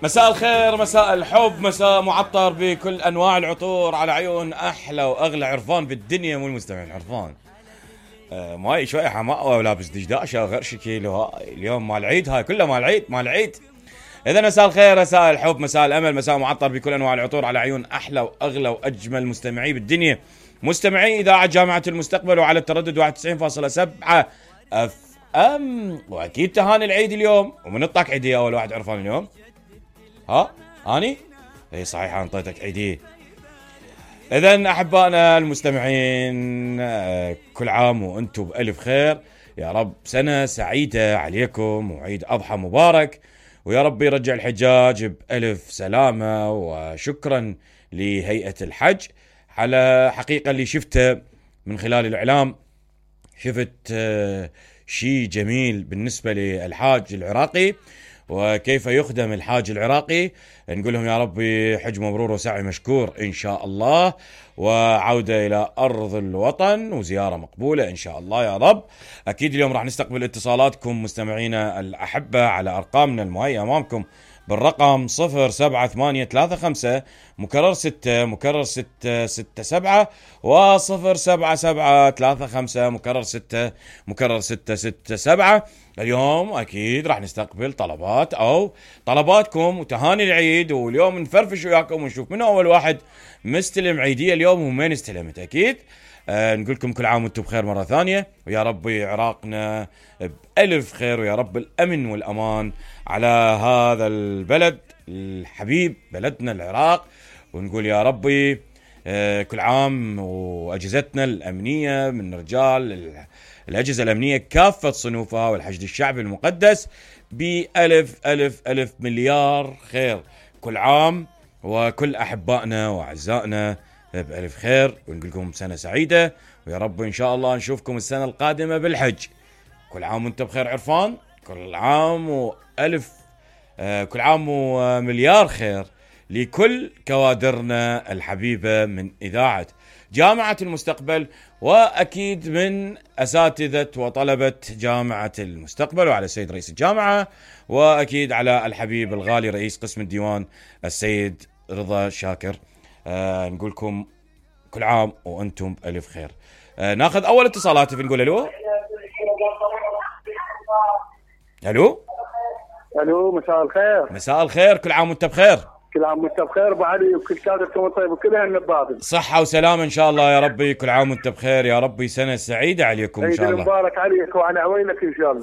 مساء الخير، مساء الحب، مساء معطر بكل انواع العطور على عيون احلى واغلى عرفان بالدنيا، مو المستمعين عرفان. ماي شوي حماقه ولابس دشداشه وغير شكل. اليوم مال العيد، هاي كله مال العيد مال العيد. اذا مساء الخير، مساء الحب، مساء الامل، مساء معطر بكل انواع العطور على عيون احلى واغلى واجمل مستمعي بالدنيا، مستمعي اذاعه جامعه المستقبل وعلى التردد 91.7 اف ام. واكيد تهاني العيد اليوم، ومن الطاق عيدي اول واحد عرفان اليوم. ها اني اي صحيح انطيتك عيدي. اذا احبائنا المستمعين، كل عام وانتم بالف خير، يا رب سنه سعيده عليكم وعيد اضحى مبارك، ويا رب يرجع الحجاج بألف سلامه. وشكرا لهيئه الحج على حقيقه اللي شفته من خلال الاعلام. شفت شيء جميل بالنسبه للحاج العراقي وكيف يخدم الحاج العراقي. نقول لهم يا ربي حج مبرور وسعي مشكور إن شاء الله، وعودة إلى أرض الوطن وزيارة مقبولة إن شاء الله يا رب. أكيد اليوم راح نستقبل اتصالاتكم مستمعينا الأحبة على أرقامنا المهيئة أمامكم بالرقم 07835 مكرر 6 مكرر 667 و07735 مكرر 6 مكرر 667. اليوم أكيد راح نستقبل طلبات أو طلباتكم وتهاني العيد، واليوم نفرفش وياكم ونشوف من أول واحد مستلم عيدية اليوم ومين استلمت. أكيد نقول لكم كل عام وانتم بخير مرة ثانية، ويا ربي عراقنا بألف خير، ويا رب الأمن والأمان على هذا البلد الحبيب بلدنا العراق. ونقول يا ربي كل عام وأجهزتنا الأمنية من رجال الأجهزة الأمنية كافة صنوفها والحشد الشعبي المقدس بألف ألف ألف مليار خير كل عام، وكل أحبائنا وأعزائنا بألف خير. ونقول لكم سنة سعيدة، ويا رب إن شاء الله نشوفكم السنة القادمة بالحج. كل عام وانتم بخير عرفان، كل عام وألف كل عام ومليار خير لكل كوادرنا الحبيبة من إذاعة جامعة المستقبل، وأكيد من أساتذة وطلبة جامعة المستقبل، وعلى السيد رئيس الجامعة، وأكيد على الحبيب الغالي رئيس قسم الديوان السيد رضا شاكر. نقول لكم كل عام وأنتم بألف خير. ناخذ أول اتصالات. نقول ألو ألو الو، مساء الخير. مساء الخير، كل عام وانت بخير. كل عام وانت بخير ابو علي، وكل كادركم طيب وكل اهل البابل صحة وسلامة ان شاء الله يا ربي. كل عام وانت بخير، يا ربي سنة سعيدة عليكم ان شاء الله. عيد مبارك عليك وعلى عويلك ان شاء الله.